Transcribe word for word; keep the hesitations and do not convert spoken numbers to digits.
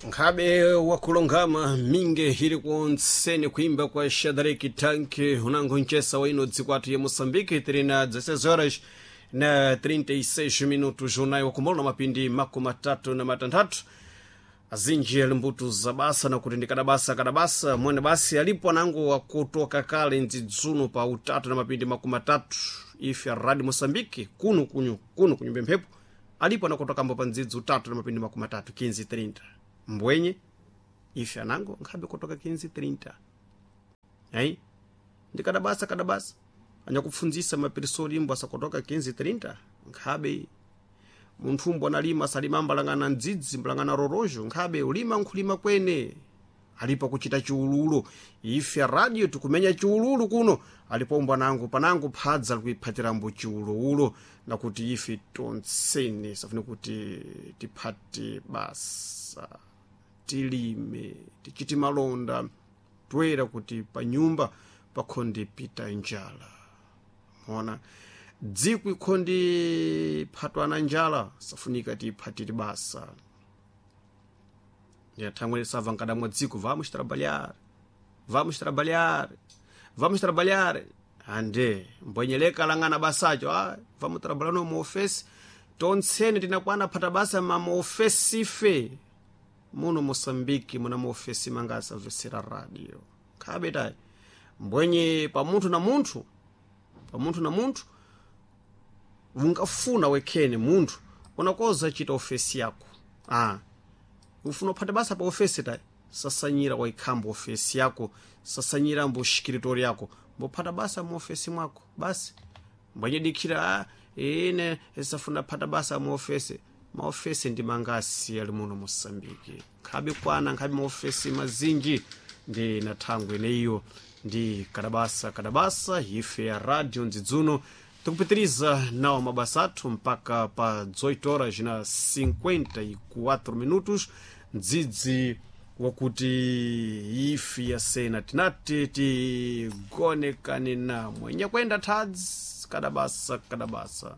Nkhabe wakulongama minge ili kuonseni kuimba kwa Shadrack Tank unango nchesa waino dzikwatu ya Moçambique tiri na dezesseis horas na trinta e seis minutos, unayo wakumbola na mapindi makumi matatu na matanthatu. Azinji ali mbuto za basa na kuti ndikadabasa kadabasa mwene basi alipo anango wakutoka kale ndzidzuno pa utatu na mapindi makumi matatu ife a Rádio Moçambique kuno kunyu kuno kunyumba mphepo alipo anakutokambo pa ndzidzi utatu na mapindi makumi matatu, quinze trinta. Mbwenye ife anango nkhabe kutoka quinze trinta ai ndikadabasa kadabasa anyakupfunzisa mapirisori imbo asakutoka quinze trinta. Nkhabe munthu umbo analima asalima mbalangana ndzidzi mbalangana rorojo, nkhabe ulima nkhulima kwene alipo kuchita chiululu. Ife radio tikumenya chiululu kuno alipo umbo anango panango phadza likuiphatirambo chiulululo nakuti ife tonsene safune kuti tiphate basa, tilime, tichite malonda toera kuti panyumba pakhonde pita njala. Mona dziko ikhondi phatwana njala, safunika tiphatire basa. Thangwe sava nkadamwa dziko, vamos trabalhar, vamos trabalhar, vamos trabalhar. Ande mbwenyeleka lang'ana basacho, ah, vamos trabalhar no muofesi tonsene tinakwana phata basa mamuofesi ife muno Moçambique muna muofesi mangasavesera radio khabe tayi mbwenye pa munthu na munthu pa munthu na munthu ungafuna wekhene munthu unakoza chita ofesi yako. Ah, ufuna uphate basa pa ofesi tayi, sasanyira waikhamba ofesi yako, sasanyira mbo shikiritori yako, mbophata basa mu ofesi mwako basi. Mbwenye dikhira, ah, ine safuna phata basa mu ofesi. Maofesi ndi mangasi ali muno Moçambique? Nkhabe kwana nkhabe maofesi mazinji. Ndi na thangwe ineyo ndi kadabasa kadabasa ife ya radio ndzidzuno tikupitiriza nawo mabasa athu mpaka pa dezoito horas na cinquenta e quatro minutos, ndzidzi wakuti ife yasena tinati tigonekane namwe nyakwenda thadzi kadabasa kadabasa.